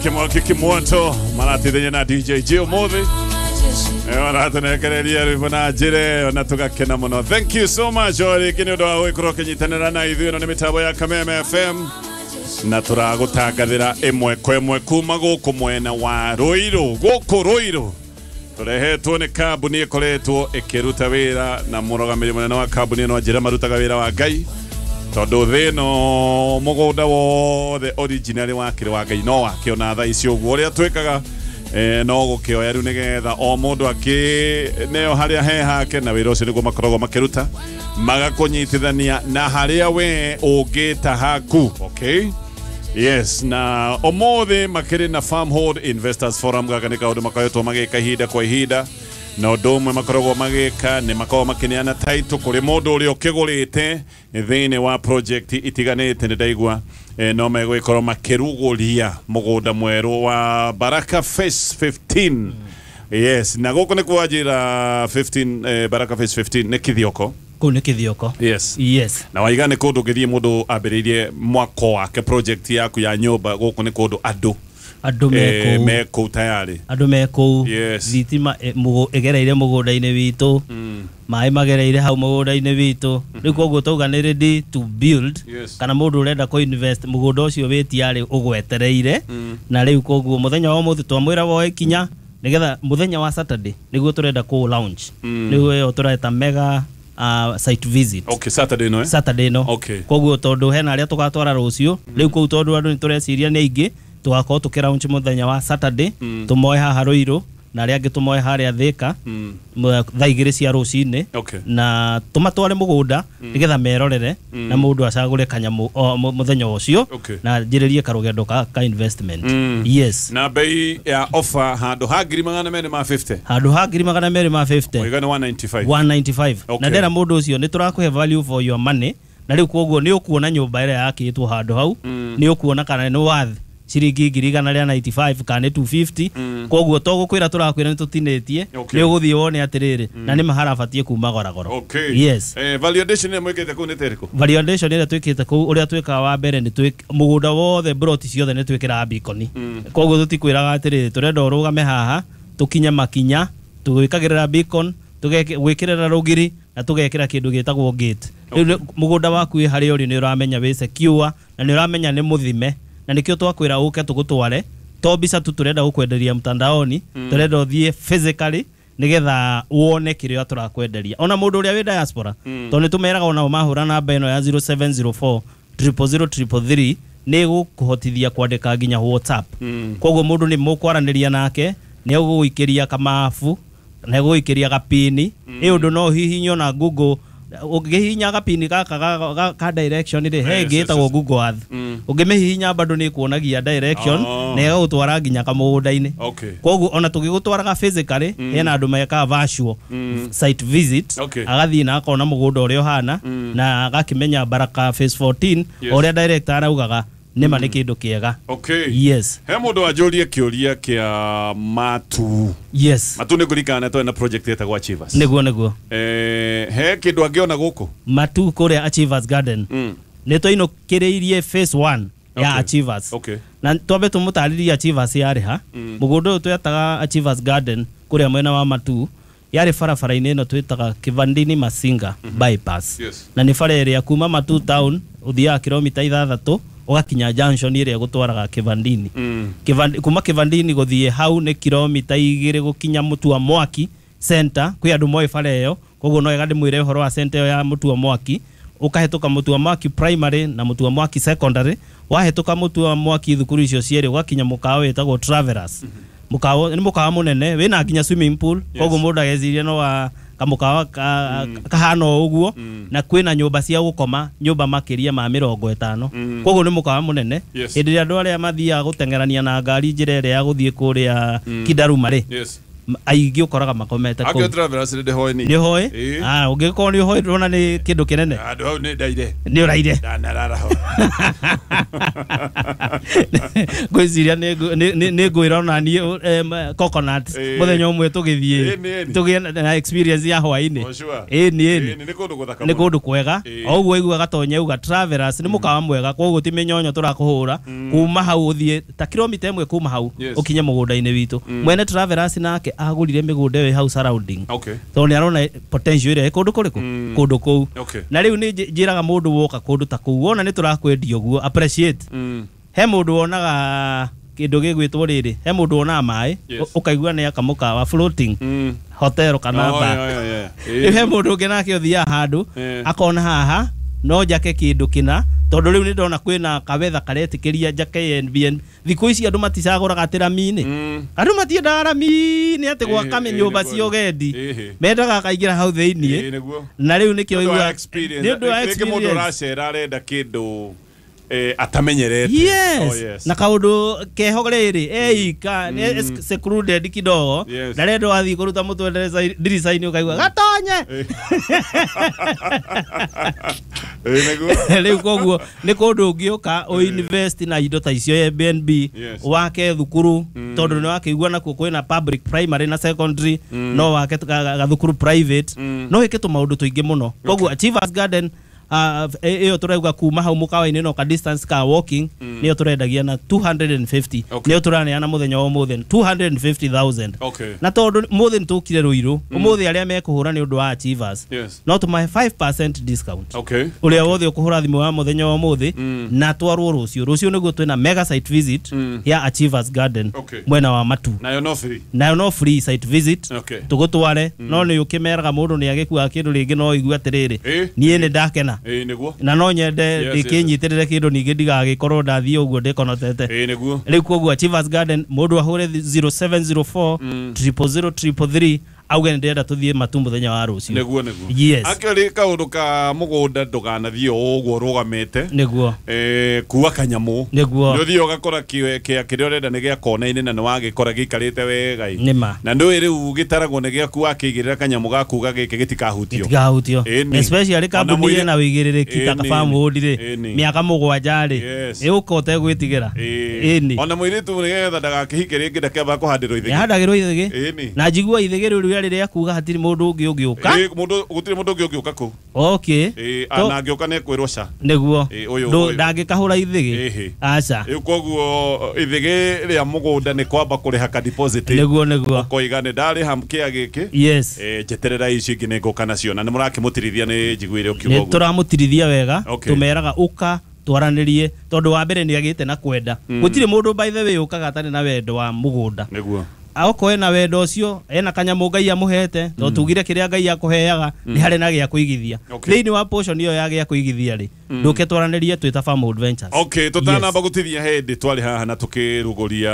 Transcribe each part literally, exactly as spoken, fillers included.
Kimwaki Kimwoto maratithenya na D J G umuthi maratunengereria rwimbo na njĩra ĩyo na tũgakena mũno. Thank you so much o rĩngĩ nĩ ũndũ wa gũgĩkorwo ũkĩnyitanĩra na ithuĩ. Ĩno nĩ mĩtambo ya Kameme F M na tũragũtangathĩra ĩmwe kwa ĩmwe kuma gũkũ mwena wa Ruiru. Gũkũ Ruiru tũrehetwo nĩ kambuni ĩkoretwo ĩkĩruta wĩra na mũrũgamĩrĩri mũnene wa kambuni ĩno njĩra marutaga wĩra wa Ngai, tondũ thĩ ĩno mũgũnda wothe original wakĩrĩ wa Ngai no wake ona thaa ici ũguo ũrĩa twĩkaga eh, no gũkĩoya rĩu nĩgetha o mũndũ akĩneo harĩa he hake, na wĩra ũcio nĩguo makoragwo makĩruta magakũnyitithania na harĩa we ũngĩta haku. Okay? Yes, na ũmũthĩ makĩrĩ na Farmhold Investors Forum. Gaka nĩ kaũndũ makoretwo magĩka ihinda kwa ihinda, na ũndũ ũmwe makoragwo magĩka nĩ makoragwo makĩneana title kũrĩ mũndũ ũrĩa ũkĩgũrĩte thĩinĩ wa project itiganĩte. Nĩ ndaigua eh, no megũgĩkorwo makĩrugũria mũgũnda mwerũ wa Baraka Phase fifteen. Yes, na gũkũ nĩ kwa njĩra fifteen, eh, Baraka Phase fifteen nĩ Kithioko. Kũu nĩ Kithioko. Yes. Yes. Na waiga nĩ kũndũ ũngĩthiĩ mũndũ ambĩrĩirie mwako wake project yaku ya nyũmba. Gũkũ nĩ kũndũ andũ andũ mekũu mekũu tayari, andũ mekũu. Yes. Thitima ĩgereire mũgũnda-inĩ witũ, maĩ magereire hau mũgũnda-inĩ witũ. Rĩu koguo tauga nĩ ready to build. Yes. Kana mũndũ ũrenda kũ invest mũgũnda ũcio wĩtiarĩ ũgwetereire. Na rĩu koguo mũthenya wa ũmũthĩ twamwĩra woe ikinya nĩgetha mũthenya wa Saturday nĩguo tũrenda kũ launch. Nĩguo ĩyo tũreta mega Uh, site visit. Okay, Saturday no, eh? Saturday no. Okay. Koguo tondu hena aria tugatwara rucio, riu kuu tondu andu nitureciria ni aingi, tugakorwo tukiraunch muthenya wa Saturday, tumoe haha Ruiru na aria angi tumoe haria Thika thaa igĩrĩ cia rũcinĩ. Okay. Na tumatware mũgũnda nĩgetha merorere na mũndũ acagũre kanyamũ mũthenya ũcio. Okay. Na njĩrĩrie karũgendo ka, ka investment. Mm. Yes. Na bei ya offer handũ ha ngiri magana merĩ ma fifty. Handũ ha ngiri magana merĩ ma fifty. Ũigana one ninety-five. one ninety-five. Okay. Na ndera mũndũ ũcio nĩ tũrakũhe value for your money, na rĩu koguo nĩ ũkuona nyũmba ĩrĩa yakĩtwo handũ hau, nĩ ũkuona kana nĩ worth ciringi ngiri igana rĩa ninety-five kana nĩ two fifty. Koguo to gũkwĩra tũrakwĩra nĩ tũtinĩtie, Okay. nĩ ũgũthiĩ wone atĩrĩrĩ na nĩ maharabatie kuma goragoro. Okay. Yes. Eh, valuation ĩrĩa mwĩkĩte kũu nĩ ta ĩrĩkũ? Valuation ĩrĩa twĩkĩte kũu, ũrĩa twĩkaga wa mbere nĩ twĩ mũgũnda wothe broti ciothe nĩ twĩkĩraga beacon. Koguo tũtikwĩraga atĩrĩrĩ tũrenda ũrũgame haha tũkinye makinya, tũgwĩkagĩrĩra beacon, tũgwĩkĩrĩra rũgiri na tũgekĩra kĩndũ gĩtagwo gate. Rĩu mũgũnda waku wĩ harĩa ũrĩ nĩ ũramenya wĩ secure na nĩ ũramenya nĩ mũthime, na nĩkĩo twakwĩra ũke tũgũtware. To mbica tu tũrenda gũkwenderia mtandaoni, tũrenda ũthiĩ physically nĩgetha wone kĩrĩa tũrakwenderia. Ona mũndũ ũrĩa wĩ diaspora, tondũ nĩ tũmeraga onao mahũra namba ĩno ya zero seven zero four triple zero triple three nĩ ĩgũkũhotithia kwandĩka nginya WhatsApp. Koguo mũndũ nĩ mũkwaranĩria nake, nĩ egũgũikĩria kamabu, nĩ egũgũikĩria gapini. Ĩ ũndũ no hihinywo na Google, ũngĩhihinya gapini gaka ga, ga, ka direction rĩ, he ĩngĩ ĩtagwo Google Earth. Ũngĩmĩhihinya bado nĩ ĩkuonagia direction Oh. na ĩgagũtwara nginya kamũgũnda-inĩ. Okay. Koguo ona tũgĩgũtwaraga physically, hena andũ mekaga virtual site visit. Okay. Agathiĩ na akona mũgũnda ũrĩa ũhana na agakĩmenya Baraka Phase fourteen. Yes. Ũrĩa director araugaga nĩma nĩ kĩndũ kĩega. Okay. Yes. He mũndũ wanjũrie kĩũria kĩa Matu. Yes. Matu nĩ ngũririkana twarĩ na project ĩtagwo Achievers. Nĩguo, nĩguo. Eh, he kĩndũ angĩona gũkũ? Matu kũrĩa Achievers Garden. Mm. Nĩ twainũkĩrĩirie phase one ya Okay. Achievers. Okay. Na twambe tũmũtarĩrie Achievers yarĩ ha. Mũgũnda ũyũ twetaga Achievers Garden kũrĩa mwena wa Matu yarĩ barabara-inĩ ĩno twĩtaga Kivandini Masinga bypass. Yes. Na nĩ bara ĩrĩa kuma Matu town ũthiaga kilomita ithathatũ ũgakinya junction ĩrĩa ĩgũtwaraga Kivandini. Mm. Kivandi, kuma Kivandini gũthiĩ hau nĩ kilomita igĩrĩ gũkinya Mũtua Mwaki center. Kwĩ andũ moĩ bara ĩyo, koguo no wega ndĩmwĩre ũhoro wa center ĩyo ya Mũtua Mwaki. Ũkahĩtũka Mũtua Mwaki primary na Mũtua Mwaki secondary, wahĩtũka Mũtua Mwaki thukuru icio cierĩ ũgakinya mũkawa wĩtagwo Travelers. Mũkawa nĩ mũkawa mũnene wĩna nginya swimming pool. Yes. Koguo mũndũ ageciria no wa kamũkawa ka, kahana o ũguo. Na kwĩna nyũmba cia gũkoma, nyũmba makĩria ma mĩrongo ĩtano. Koguo nĩ mũkawa mũnene. Yes. Hĩndĩ ĩrĩa andũ arĩa mathiaga gũteng'erania na ngari njĩra ĩrĩa ya gũthiĩ kũrĩa Kidaruma rĩ, Yes. Aingĩ ũkoraga makomete kũu. Akio Travelers nĩ ndĩhoĩ niĩ. Nĩ ũhoĩ? Ĩĩ. Ah, ũngĩkorwo nĩ ũhoĩ ndũrona nĩ kĩndũ kĩnene. Handũ hau nĩ ndaire. Nĩ ũraire. Ndanarara ho. Ngwĩciria nĩ ngũ- nĩ- nĩ- nĩ ngwĩra ona niĩ em, coconut Ĩĩ. mũthenya ũmwe tũgĩthiĩ Ĩĩ, nĩ, tũgĩe na experience ya hwaĩ-inĩ. For sure. Ĩĩ, nĩ, ĩĩ. Ĩĩ, nĩ kũndũ gũthaka Nĩ mũno. kũndũ kwega. Ĩĩ. O ũguo aigua gatonye uga Travelers nĩ mũkawa mwega, koguo ti mĩnyonyo tũrakũhũra kuma hau ũthiĩ ta kilomita ĩmwe kuma hau Yes. ũkinye mũgũnda-inĩ witũ. Mwene Travelers nake agũrire mĩgũnda ĩyo ĩ hau surrounding Okay. tondũ nĩ arona potential ĩrĩa ĩ kũndũ kũrĩkũ kũndũ kũu. Okay. Na rĩu nĩ njĩ- njĩraga mũndũ woka kũndũ ta kũu wona nĩ tũrakwendia ũguo, appreciate. Mm. He mũndũ wonaga kĩndũ gĩgwĩtwo rĩrĩ, he mũndũ wonaga maĩ Yes. ũ- ũkaigua nĩ akamũkawa floating Mm. hotel kana Oh, bar. yeah, yeah, yeah. Rĩu he mũndũ ũngĩ nake ũthiaga handũ Eh. akona haha no njake kĩndũ kĩna, tondũ rĩu nĩ ndona kwĩna kawetha karetĩkĩria njake Airbnb. Thikũ ici andũ maticagũraga atĩ rami-inĩ. Mm. Andũ matiendaga rami-inĩ atĩ gwaka Ĩhĩ, nyũmba ĩhĩ, cia ũgendi, ĩhĩ. mendaga akaingĩra hau thĩiniĩ. Ĩĩ, nĩguo. Na rĩu nĩkĩo Nĩ ũndũ wa ũiguaga- experience. nĩ ũndũ wa Rĩngĩ mũndũ experience. ũracera arenda kĩndũ eh, atamenyerete. Yes. Oh, yes. Na kaũndũ keho rĩrĩ eika nĩ secluded kidogo. Yes. Ndarenda wathiĩ kũruta mũtwe ndirica- ndirica-inĩ ũkaigua gatonye. Ĩĩ, nĩguo. Rĩu koguo nĩ kũndũ ũngĩũka ũinvest na indo ta icio Airbnb, Yes. wake thukuru, tondũ nĩ wakĩigua nakuo kwĩna public primary na secondary, no wake ga- ga- gathukuru private, no wĩke tũmaũndũ tũingĩ mũno. Koguo Achievers Garden ah, ĩyo tũrauga kuma hau mũkawa-inĩ no ka distance ka walking, nĩyo tũrendagia na two hundred and fifty. Okay. Nĩyo tũraneana mũthenya wa ũmũthĩ two hundred and fifty thousand. Okay. Na tondũ mũthĩ nĩtũkire Rũirũ ũmũthĩ, arĩa mekũhũra nĩ ũndũ wa Achievers Yes. no tũmahe five percent discount. Okay. Ũrĩa wothe ũkũhũra thimũ ya mũthenya wa ũmũthĩ na twarwo rũciũ, rũciũ nĩguo twĩna mega site visit ya Achievers Garden Okay. mwena wa Matu. Nayo no free. Nayo no free site visit. Okay. Tũgũtware, no nĩ ũkĩmeraga mũndũ nĩ agĩkuaga kĩndũ rĩngĩ no igue atĩrĩrĩ, Ĩ. niĩ nĩ ndakena Ĩĩ, nĩguo. na no nyende Yes, yes, ndĩkĩnyitĩrĩre kĩndũ ningĩ ndigagĩkorwo ndathiĩ ũguo ndĩkonotete. Ĩĩ, nĩguo. Rĩu koguo Achievers Garden mũndũ ahũre zero seven zero four triple zero triple three auge nĩ ndĩrenda tũthiĩ Matu mũthenya wa rũciũ. Nĩguo, nĩguo. Yes. Actually kaũndũ ka mũgũnda ndũganathiĩ o ũguo ũrũgamĩte. Nĩguo. Eh, kuua kanyamũ. Nĩguo. Nĩ ũthiĩ ũgakora kĩo kĩa kĩrĩa ũrenda nĩ gĩa kona-inĩ na nĩ wagĩkora gĩikarĩte wega ĩ. Nĩma. Na ndũĩ rĩu gĩtaragwo nĩ gĩaku wakĩigĩrĩra kanyamũ gaku gagĩkĩ gĩtikahutio. Gĩtikahutio. Ĩni. Especially Ona kambuni mũirĩ- ĩna wĩigĩrĩrĩki ta Ĩni. Farmwood rĩ, Ĩni. mĩaka mũgwanja rĩ, Yes. ĩũka ũtegwĩtigĩra. Ĩĩ. Ĩni. Ona mũirĩtu nĩgetha ndagakĩhike rĩngĩ ndakĩambaga kũhandĩrwo ithĩgĩ. Nĩhandagĩrwo ithĩgĩ. Ĩni. Na njigua ithĩgĩ rĩu rĩarĩ rĩa kuga hatirĩ mũndũ ũngĩ ũngĩũka. Ĩĩ, mũndũ gũtirĩ mũndũ ũngĩ ũngĩũka kũu. Okay. Ĩĩ, To- na angĩũka nĩ ekwĩrwo ca. Nĩguo. Ĩĩ, ũyũ- Ndũ- ũyũ. Ndangĩkahũra ithĩgĩ. Ĩhĩ. Aca. Rĩu koguo ithĩgĩ rĩa mũgũnda nĩ kwamba kũrĩha ka deposit. Nĩguo, nĩguo. Ũkoiga nĩ ndarĩha kĩa gĩkĩ. Yes. Eh, njeterera icio ingĩ nĩ ngũka nacio na nĩ mũrakĩmũtirithia nĩ njiguire ũkiuga Nĩ ũguo. tũramũtirithia wega. Okay. Tũmeraga ũka twaranĩrie tondũ wa mbere nĩ agĩte na kwenda. Gũtirĩ mũndũ, by the way, ũkaga atarĩ na wendo wa mũgũnda. Nĩguo. Aokorwo ena wendo ũcio, ena kanyamũ Ngai amũhete, tondũ tugire kĩrĩa Ngai akũheaga nĩ harĩ na gĩa kũigithia. Okay. Thĩinĩ wa portion ĩyo ya gĩa kũigithia rĩ, ndũke twaranĩrie twĩ ta Farmwood Ventures. Okay, tũtanamba gũtithia hĩndĩ twarĩ haha na tũkĩrugũria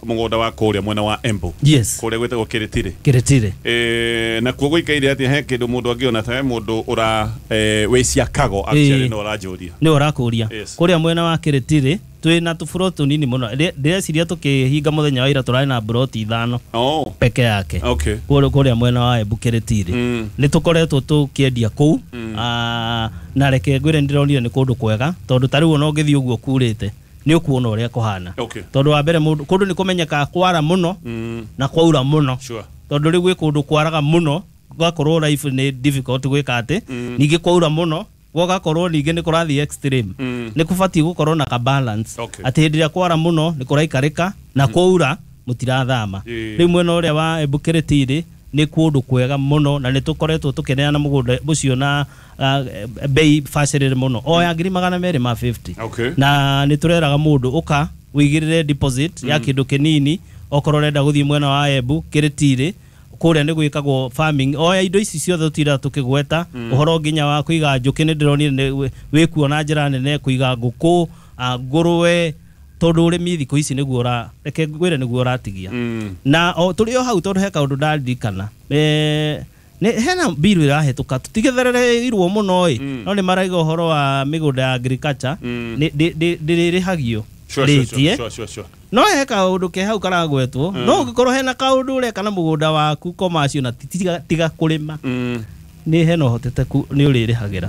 mũgũnda wa kũrĩa mwena wa Embu. Yes. Kũrĩa gwĩtagwo Kĩrĩtirĩ. Kĩrĩtirĩ. Eh, nakuo gũikaire atĩa? He kĩndũ mũndũ angĩona ta he mũndũ ũra eh, wĩ Ciakago actually Ĩĩ. no ũranjũria. Nĩ ũrakũria. Yes. Kũrĩa mwena wa Kĩrĩtirĩ twĩna tũburoti tũnini mũno. Ndĩ- ndĩreciria tũkĩhinga mũthenya wa ira tũrarĩ na buroti ithano Oh, peke yake. okay. kũrĩa kũrĩa mwena wa Embu Kĩrĩtirĩ Mm. nĩ tũkoretwo tũkĩendia kũu. Ah, na reke ngwĩre nĩ ndĩronire nĩ kũndũ kwega tondũ ta rĩu ona ũngĩthiĩ ũguo kurĩte nĩ ũkuona ũrĩa kũhana. Okay. Tondũ wa mbere mũndũ kũndũ nĩ kũmenyekaga kwara mũno Mm. na kwaura mũno. Sure. Tondũ rĩu gwĩ kũndũ kwaraga mũno gũgakorwo life nĩ difficult gwĩka atĩ, ningĩ kwaura mũno gũgakorwo ningĩ nĩ kũrathiĩ extreme. Mm. Nĩ kũbatiĩ gũkorwo na ka balance Okay. atĩ hĩndĩ ĩrĩa kwara mũno nĩ kũraikarĩka na kwaura mũtirathama. Ĩĩ. Rĩu mwena ũrĩa wa Embu Kĩrĩtirĩ nĩ kũndũ kwega mũno na nĩ tũkoretwo tũkĩneana mũgũnda ũcio na uh, bei bacĩrĩre mũno o ya ngiri magana merĩ ma fifty. Okay. Na nĩ tũreraga mũndũ ũka wĩigĩrĩre deposit ya kĩndũ kĩnini okorwo ũrenda gũthiĩ mwena wa Embu Kĩrĩtirĩ. Kũrĩa nĩ gwĩkagwo farming oya indo ici ciothe tũtindaga tũkĩgweta ũhoro nginya wa kũiga njũkĩ. Nĩ ndĩronire nĩ wĩkuo na njĩra nene kũiga ngũkũ, ah, ngũrwe, tondũ ũrĩmi thikũ ici nĩguo ũra reke ngwĩre nĩguo ũratigia. Mm. Na o tũrĩ o hau tondũ he kaũndũ ndaririkana, eh, nĩ hena mbiru ĩrahĩtũka tũtigethereirwo mũno ĩ, no nĩ maraiga ũhoro wa mĩgũnda ya agriculture Mm. nĩ ndĩ- ndĩ- ndĩrĩrĩhagio Sure, sure, rĩti, sure, eh? sure, sure, sure. No he kaũndũ ke hau karagwetwo, no ũngĩkorwo hena kaũndũ ũreka na mũgũnda waku commercial na tiga, tiga kũrĩma, Mm. nĩ hena ũhoteteku nĩ ũrĩrĩhagĩra.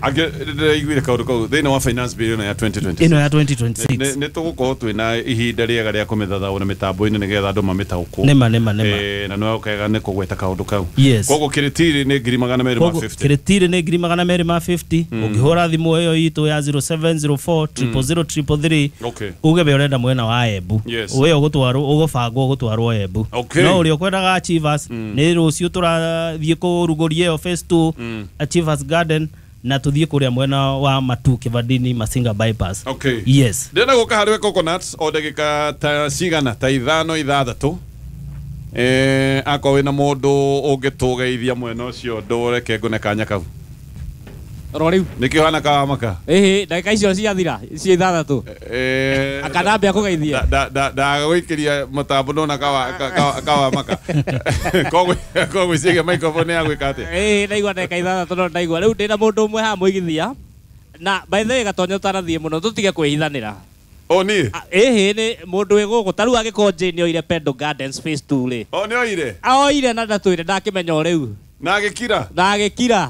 Angĩ ndĩraiguire kaũndũ kau thĩinĩ wa finance bill ĩno ya twenty twenty-six. Ĩno ya twenty twenty-six. Nĩ tũgũkorwo twĩna ihinda rĩega rĩa kũmĩthathaũra mĩtambo-inĩ nĩgetha andũ mamĩtaũkwo. Nĩma, nĩma, nĩma. Eh, na no kega nĩ kũgweta kaũndũ kau. Yes. Koguo kĩrĩtiri nĩ ngiri magana merĩ ma Koguo mĩrongo ĩnana. kĩrĩtiri nĩ ngiri magana merĩ ma mĩrongo ĩnana. Ũngĩhũra thimũ ĩyo itũ ya zero seven zero four zero zero zero three three, Okay. uge we ũrenda mwena wa Embu, Yes. we ũgũtwarwo, ũgũbangwo ũgũtwarwo Embu. Okay. No ũrĩa ũkwendaga Achievers, nĩ rũciũ tũrathiĩ kũrugũria ĩyo phase two, Achievers Garden, na tũthiĩ kũrĩa mwena wa Matu Kivandini, Masinga bypass. Okay. Yes. Ndĩrenda gũka harĩ we Coconut o ndagĩka ta cigana, ta ithano, ithathatũ. Eh, akorwo wĩna mũndũ ũngĩtũgeithia mwena ũcio, ndũreke ngũne kanya kau. Ro rĩu. Nĩkĩo hana kawamaka. Ĩhĩ, ndagĩka icio ciathira cia ithathatũ. Eh, akanambia kũgeithia. Ndagũikĩria mũtambo ndona kawamaka, koguo ciĩge microphone ya gwĩka atĩa. Ĩhĩ, ndaigua ndagĩka ithathatũ, no ndaigua rĩu ndĩna mũndũ ũmwe haha mũigithia na by the way Gatonya, ũtanathiĩ mũno, tũtige kwĩhithanĩra. O niĩ? Ah, ĩhĩ, nĩ mũndũ wĩ gũkũ ta rĩu angĩkorwo Jane oire Pendo Gardens phase two rĩ. O nĩ oire? Oire na ndatwĩre, ndakĩmenya o rĩu. Na agĩkira? Na agĩkira.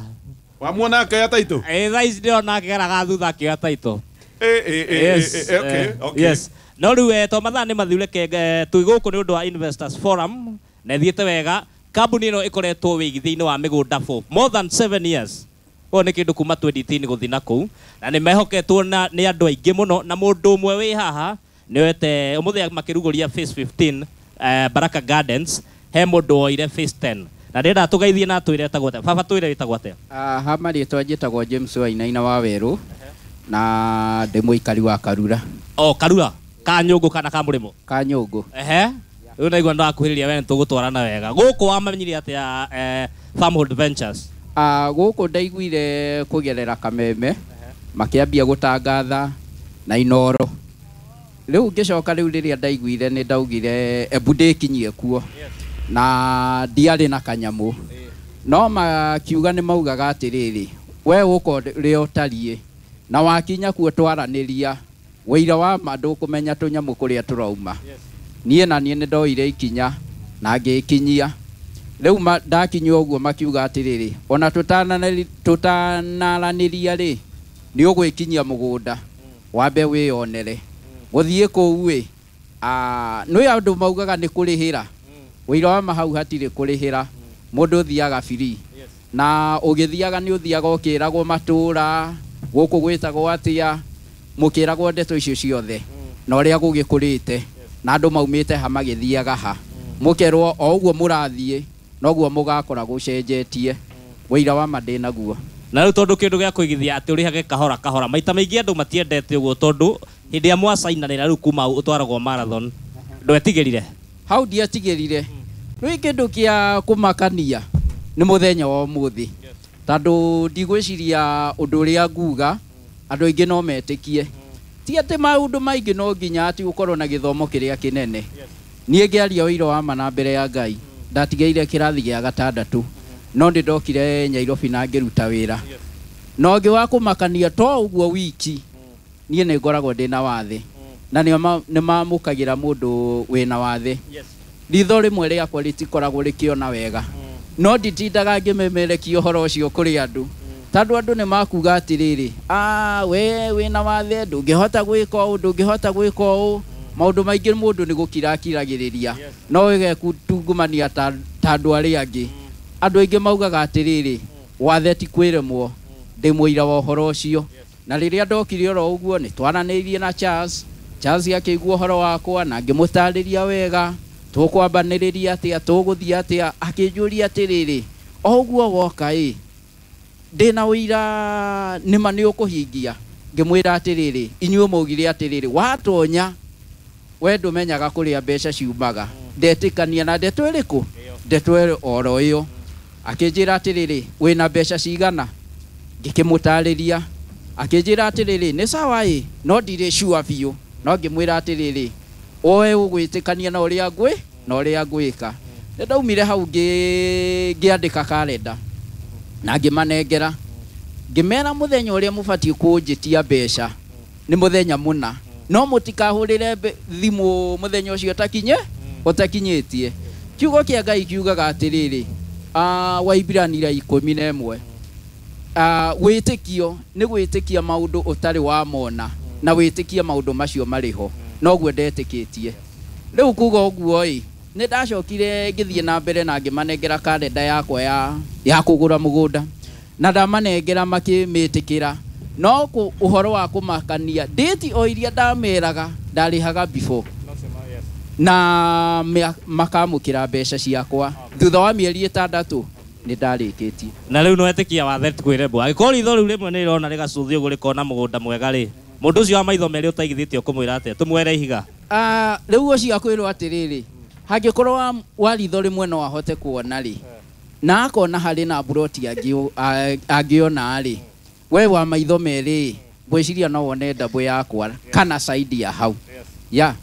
Wamuona akĩoya taitũ? Ĩ, thaa ici ndĩrona akĩgeraga thutha akĩoya taitũ. Eh, eh, eh, Yes, eh, eh, okay, eh, okay. yes. No rĩu eh, to mathaa nĩ mathiu, reke eh, twĩ gũkũ nĩ ũndũ wa Investors Forum na ĩthiĩte wega. Kambuni ĩno ĩkoretwo wĩigithia-inĩ wa mĩgũnda for more than seven years. Ũyũ nĩ kĩndũ kuma twenty ten gũthiĩ na kũu, na nĩ mehoketwo na nĩ andũ aingĩ mũno, na mũndũ ũmwe wĩ haha nĩwete ũmũthĩ makĩrugũria phase fifteen, eh, Baraka Gardens, he mũndũ woire phase ten na ndĩrenda tũgeithie na twĩre etagwo atĩa. Baba, twĩre wĩtagwo atĩa. Ah, ha marĩtwa njĩtagwo James Wainaina wa Werũ na ndĩ mũikari wa Karura. O Karura ka Nyũngũ kana ka Mũrĩmo? Ka Nyũngũ. Ehe, rĩu naigua nĩwakuhĩrĩria we, nĩtũgũtwarana wega gũkũ. Wamenyire atĩa eh, Farmhold Ventures? Ah, gũkũ ndaiguire kũgerera Kameme makĩambia gũtangatha na Inoro. Rĩu ngĩcoka, rĩu rĩrĩa ndaiguire nĩ ndaugire embu ndĩkinyie kuo na ndiarĩ na kanyamũ, no makiuga nĩ maugaga atĩrĩrĩ, we ũka ũrĩa ũtariĩ na wakinya kuo twaranĩria wĩira wa ma ndũkũmenya tũnyamũ kũrĩa tũrauma. Niĩ na niĩ nĩ ndoire ikinya na ngĩkinyia. Rĩu ma- ndakinya ũguo makiuga atĩrĩrĩ, ona tũtananĩri- tũtanaranĩria rĩ, nĩ ũgwĩkinyia mũgũnda wambe wĩyonere gũthiĩ kũu ĩ. Ah, nĩ andũ maugaga nĩ kũrĩhĩra wĩira wa ma, hau hatirĩ kũrĩhĩra, mũndũ ũthiaga free, na ũgĩthiaga nĩ ũthiaga ũkĩragwo matũra gũkũ gwĩtagwo atĩa, mũkĩragwo ndeto icio ciothe na ũrĩa gũgĩkũrĩte na andũ maumĩte ha magĩthiaga ha, mũkerwo o ũguo mũrathiĩ noguo mũgakora gũcenjetie. Wĩira wa ma ndĩnaguo. Na rĩu tondũ kĩndũ gĩa kũigithia atĩ ũrĩhage kahora kahora, maita maingĩ andũ matiendete ũguo, tondũ hĩndĩ ĩrĩa mwacainanĩra rĩu kuma hau ũtwaragwo marathon, ndwetigĩrire? Hau ndiatigĩrire. Rĩu kĩndũ kĩa kũmakania nĩ mũthenya wa ũmũthĩ, tondũ ndigwĩciria ũndũ ũrĩa nguga andũ aingĩ no metĩkie. Ti atĩ maũndũ maingĩ no nginya atĩ ũkorwo na gĩthomo kĩrĩa kĩnene. Niĩ ngĩaria ũira wa ma na mbere ya Ngai, ndatigĩire kĩrathi gĩa gatandatũ, no nĩ ndokire Nyairobi na ngĩruta wĩra. Na ũngĩ wa kũmakania to ũguo wiki, niĩ nĩ ngoragwo ndĩna wathe na nĩ mamũkagĩra mũndũ wĩna wathe. Ritho rĩmwe rĩakwa rĩtikoragwo rĩkĩona wega, no nditindaga ngĩmemerekia ũhoro ũcio kũrĩ andũ, tondũ andũ nĩ makuga atĩrĩrĩ, "Ah, we wĩna wathe ndũngĩhota gwĩka ũũ, ndũngĩhota gwĩka ũũ." Maũndũ maingĩ mũndũ nĩ gũkira akiragĩrĩria, no ĩgekutungumania ta ta andũ arĩa angĩ. Andũ aingĩ maugaga atĩrĩrĩ, wathe ti kwĩremwo. Ndĩ mũira wa ũhoro ũcio, na rĩrĩa ndokire oro ũguo nĩ twaranĩirie na Charles. Charles akĩigua ũhoro wakwa na ngĩmũtarĩria wega tũkwambanĩrĩria atĩa, tũgũthiĩ atĩa. Akĩnjũria atĩrĩrĩ, o ũguo woka ĩ, ndĩna ũira nĩma nĩ ũkũhingia. Ngĩmwĩra atĩrĩrĩ, inyuĩ maugire atĩrĩrĩ, watonya we ndũmenyaga kũrĩa mbeca ciumaga. Ndetĩkania na ndeto ĩrĩkũ, ndeto ĩyo oro ĩyo. Akĩnjĩra atĩrĩrĩ, wĩna mbeca cigana? Ngĩkĩmũtarĩria. Akĩnjĩra atĩrĩrĩ, nĩ sawa ĩ, no ndirĩ sure biũ. No ngĩmwĩra atĩrĩrĩ, oe ũgwĩtĩkania na ũrĩa ngwĩ na ũrĩa ngwĩka. Nĩ ndaumire hau ngĩ- ngĩandĩka karenda na ngĩmanengera, ngĩmera mũthenya ũrĩa mũbatiĩ kũnjĩtia mbeca nĩ mũthenya mũna. No mũtikahũrĩre mbe- thimũ mũthenya ũcio ũtakinye ũtakinyĩtie. Kiugo kĩa Ngai kiugaga atĩrĩrĩ, ah, Waibrania ikũmi na ĩmwe, ah, wĩtĩkio nĩ gwĩtĩkia maũndũ ũtarĩ wamona na wĩtĩkie maũndũ macio marĩ ho. Noguo ndetĩkĩtie. Rĩu kuga ũguo ĩ, nĩ ndacokire ngĩthiĩ na mbere na ngĩmanengera karenda yakwa ya, ya kũgũra mũgũnda, na ndamanengera makĩmĩtĩkĩra. No kũ- ũhoro wa kũmakania, date o iria ndameraga ndarĩhaga before na mea- makamũkĩra mbeca ciakwa thutha wa mĩeri ĩtandatũ nĩ ndarĩkĩtie. Na rĩu no etĩkia wathe kwĩrembwo angĩkorwo ritho rĩu rĩmwe nĩ rĩrona rĩgacũthio ũguo rĩkona mũgũnda mwega rĩ, mũndũ ũcio wa maitho merĩ ũtaigithĩtie ũkũmwĩra atĩa tũmwere ihiga? Ah, rĩu ũcio akwĩrwo atĩrĩrĩ, hangĩkorwo wa, wa ritho rĩmwe no ahote kuona rĩ, na akona harĩ na mburoti angĩ- a- angĩona rĩ, we wa maitho merĩ ngwĩciria no wone ndabũ yakwa kana saidi ya hau ya.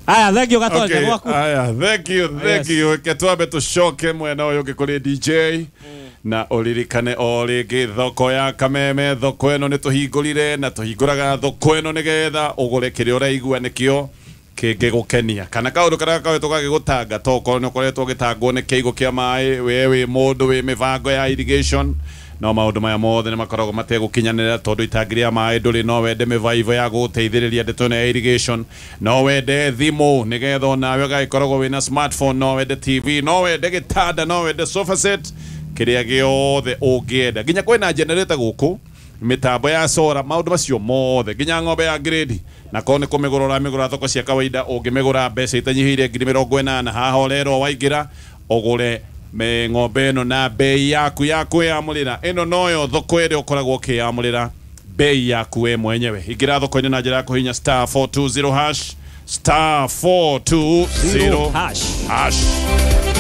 Aya, thank you Gatonja. Okay, Gwaku. aya, thank you, thank Yes. you. Reke twambe tũcoke mwena ũyũ ũngĩ kũrĩ D J na ũririkane o rĩngĩ thoko ya Kameme. Thoko ĩno nĩ tũhingũrire na tũhingũraga thoko ĩno nĩgetha ũgũre kĩrĩa ũraigua nĩkĩo kĩngĩgũkenia kana kaũndũ karĩa gakoretwo gagĩgũtanga, to okorwo nĩ ũkoretwo ũgĩtangwo nĩ kĩigũ kĩa maĩ, we wĩ mũndũ wĩ mĩbango ya irrigation, no maũndũ maya mothe nĩ makoragwo mategũkinyanĩra tondũ itangi rĩa maĩ ndũrĩ. No wende mĩbaibũ ya gũgũteithĩrĩria ndeto ĩno ya irrigation, no wende thimũ nĩgetha onawe ũgagĩkoragwo wĩna smartphone, no wende T V, no wende gĩtanda, no wende sofa set, kĩrĩa gĩothe ũngĩenda. Nginya kwĩna generator gũkũ, mĩtambo ya sora, maũndũ macio mothe, nginya ng'ombe ya grade. Na korwo nĩ kũmĩgũra ũramĩgũra thoko cia kawaida, ũngĩmĩgũra mbeca itanyihĩire ngiri mĩrongo ĩnana, haha ũrerwo waingĩra ũgũre me ng'ombe ĩno na bei yaku ya kwĩyamũrĩra. Ĩno noyo thoko ĩrĩa ũkoragwo ũkĩyamũrĩra bei yaku we mwenyewe. Ingĩra thoko-inĩ na njĩra ya kũhihinya star four two zero hash, star four two zero hash. Hash.